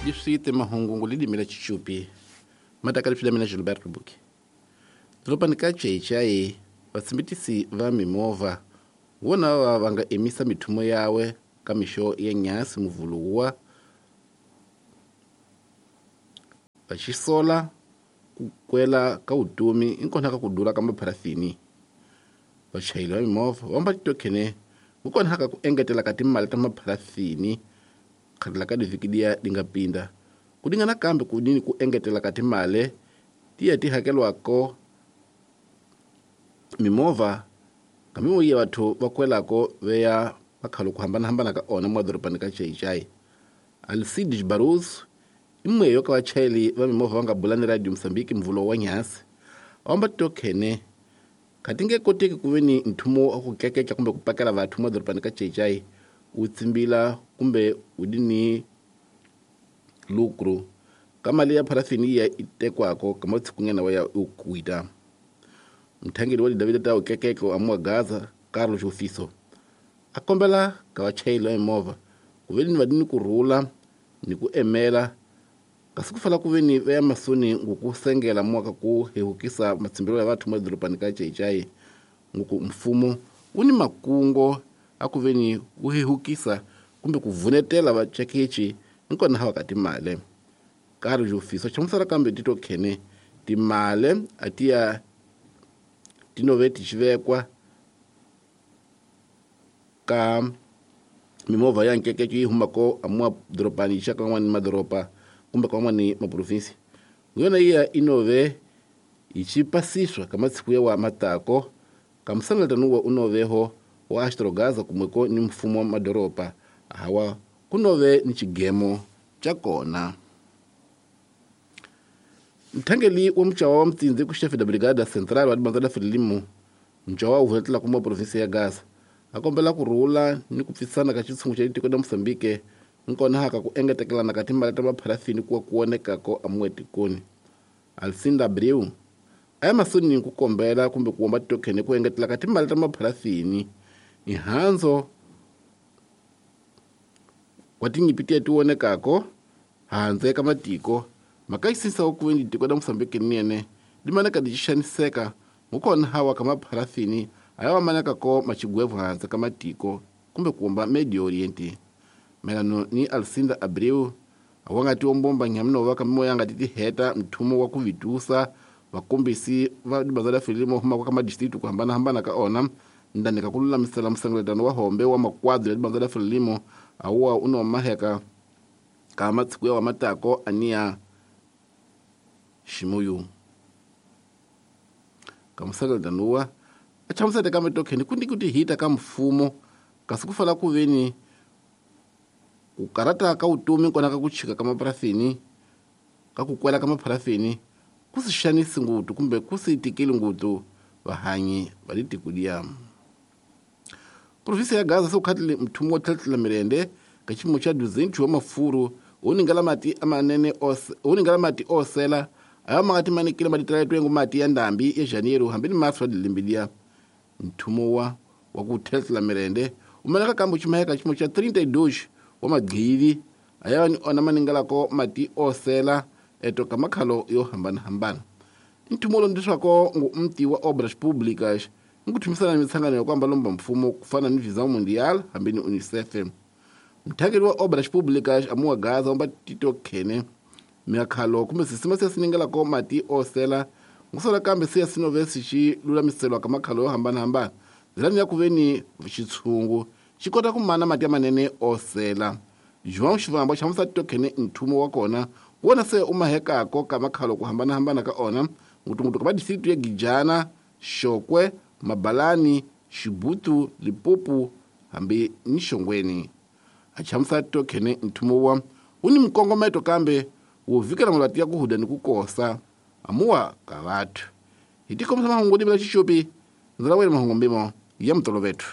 Liswite mahungu lilimi la Chichupi matakali mina Gilberto Buki. Dorobani ka Chaichai vatsimbitisi va mimovha vona va va nga emisa mithumo yawe ka mixo ya nyasi muvhulu wa vaxisola ku kwela ka vutomi inkona ka ku dura ka mapharafini. Vachayeri va mimovha va amba titokhene kukona ka ku engetela ka timali ta mapharafini khale ka livhiki liya li nga pinda ku dingana kambe ku dini ku engetela ka timali tiya ti hakelwako mimovha kamimo ya batho va kwelako veya makhalo ku hambanahambana ka ona mwadorobani ka Chaichai. Alcides Barroso imwe yo ka vachayeri va mimovha va nga bula ni Radio Mozambique mvulo wa nyasi va tokhene kati nge koteki ku ve ni nthumo wa ku keketla kumbe ku pakela vathu mwadorobani ka Chaichai wu tsimbila kumbe wu di ni lucro ka mali ya parafini ya itekwako ka matshikunyana wa ya ukuita. Mthangeli wa David ta ukekeko amwa Gaza Carlos Ofiso a kombela ka vachayeri va mimovha ku ve ni va ni kurhula ni ku emela kasi ku fala ku ve ni va ya masoni ngoku sengela mwaka ku hehukisa matsimbelo ya vathu madorobani ka Chaichai ngoku mfumo wu ni makungo a ku ve ni wu hehukisa kumbe ku vunetela vacekechi nkona hava ka timale. Carlos Ofiso hlamusela kambe tito khene timale a ti ya tinove ti xivekwa ka mimovha ya nkekeke yi humako amwa dorobani yi xaka van'wani madoroba kumbe ka van'wani maprovinsi yona iya inove yi xi pasiswa ka matshiku ya wa matako ka musangatano wa unoveho wa Astrogaza kumweko ni mfumo wa madoroba hawa kunove ni xigemo xa kona. Mthangeli wa muchawa wa mutindzi ku chefe da brigada central wa dibanza la Frelimo muchawa wu vuletela kuma provinsi ya Gaza a kombela ku rhula ni ku pfisana ka xitshungu xa tiko la Mozambique nkona haka ku engetekelana ka timali ta mapharafini kuwa ku vonekako amuwe tikoni. Alcinda Abreu a ya mahlweni ku kombela kumbe ku womba tokhene ku engetela ka timali ta mapharafini mihandzo wa tinyimpi tiya ti vonekako handle ka matiko mhaka yi sinisa ku ve ni tiko la Mozambique nene li maneka li xaniseka ngukona hawa ka mapharafini a ya va maneka ko machigwevu handle ka matiko kumbe ku Medio Oriente. Melano ni Alcinda Abreu a wa nga ti ombomba nyaminova ka mimoya nga ti tiheta mthumo wa ku vitusa vakombisi va dibanza la Frelimo humaka ka madistritu ku hambanahambana ka ona ndani ka ku lulamisela musengeletano wa hombe wa makwadro ya dibanza la Frelimo a wa u no maheka ka matshiku ya wa matako aniya ximuyu. Ka musengeletano wa a chamusete ka mitokheni ku ndi ku tihita ka mfumo kasi ku fala ku ve ni ku karata ka vutomi kona ka ku chika ka mapharafini ka ku kwela ka mapharafini ku si xanisi nguthu kumbe ku si tikeli nguthu vahanyi va le tiko liya. Provinsi ya Gaza se ku khatile mthumo wa tlhetlhela mirende ka xiyimo xa 200 wa mafuru wu ningela mati amanene wu ningela mati osela aya ma nga ti manikile malitela twengo mati ya ndambi ya Janeiro hambi ni marso wa lembe liya. Mthumo wa ku tlhetlhela mirende wu maneka kambe ximaheka xiyimo xa 32 wa magqivi aya ni ona maningelako mati osela eto ka makhalo yo hambanahambana. Nthumo lowu ndiswako ngu mti wa Obras Públicas ngu thumisana ni mitshangano ya ku ambalomba mfumo ku fana ni Visão Mundial hambi ni UNICEF. Mthangeli wa Obras Públicas amuwa Gaza wamba Tito Khene miakhalo kumbe sisima siya siningelako mati osela ngusola kambe siya sinove sixi lulamiselwa ka makhalo yo hambanahambana ndzilani ya ku ve ni xitshungu xi kota ku mana mati ya manene osela. João Xivambo hlamusela Tito Khene nthumo wa kona wona se u mahekako ka makhalo ku hambanahambana ka ona ngutunguthu ka madistritu ya Gijana, Xokwe, Mabalani, Xibutu, Limpopo hambi ni Xongweni. A hlamusela Tito Khene nthumo wa wu ni mikongometo kambe wo vikela malwati ya ku huda ni ku kosa amuwa ka vathu. Hi tikombisa mahungu limela xixopi ndzi la wena mahungu mbimo ya mutolovethu.